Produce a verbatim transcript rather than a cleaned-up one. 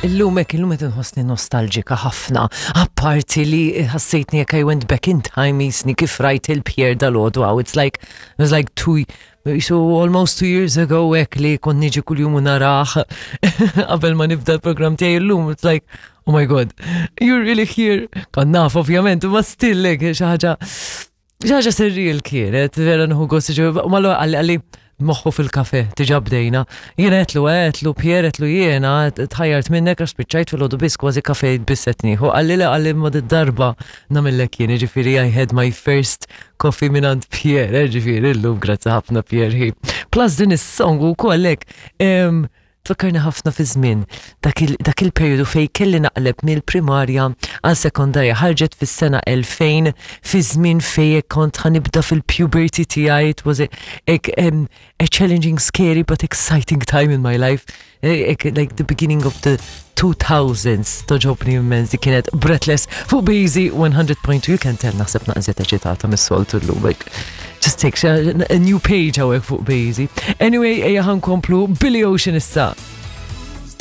Illum hekk, illum qed inħossni nostalġika ħafna. Apparti li ħassejtni jekk I went back in time jisni kif rajt il-Pierre dalgħodu għaw. It's like, it was like two, so almost two years ago hekk li kont niġi kuljum u narah qabel ma nibda l-programm tiegħi illum. It's like, oh my God, you're really here. Kont naf ovvjament, ma still hekk xi ħaġa xi ħaġa surreal kienet, vera nieħu gost ġo, ma qalli qalli moħħu fil-kafe, diġà bdejna. Jiena għedtlu, għedtlu, Pierre għedtlu jiena, tħajjart minnek għax spiċċajt fil-għodu biss kważi kafe biss qed nieħu. Qalli le qalli ma darba nagħmillek jien, ġifieri I had my first coffee minn Pierre, ġifieri illum grazzi ħafna Pierre. Plus din is-song u kollek, tfakkarni ħafna fi żmien dak il-perjodu fej kelli naqleb mill-primarja għal sekondarja ħarġet fis-sena elfejn fi żmien fej kont ħa nibda fil-puberty tiegħi it was a, a, um, a challenging scary but exciting time in my life like, like the beginning of the two thousands togħġobni immens di kienet Breathless fuq Bazy one hundred point two you can tell naħseb naqra eċitata mis-soltu llum like just take a, a new page hawnhekk fuq Bazy. Anyway, ejja ħa nkomplu Billy Ocean issa.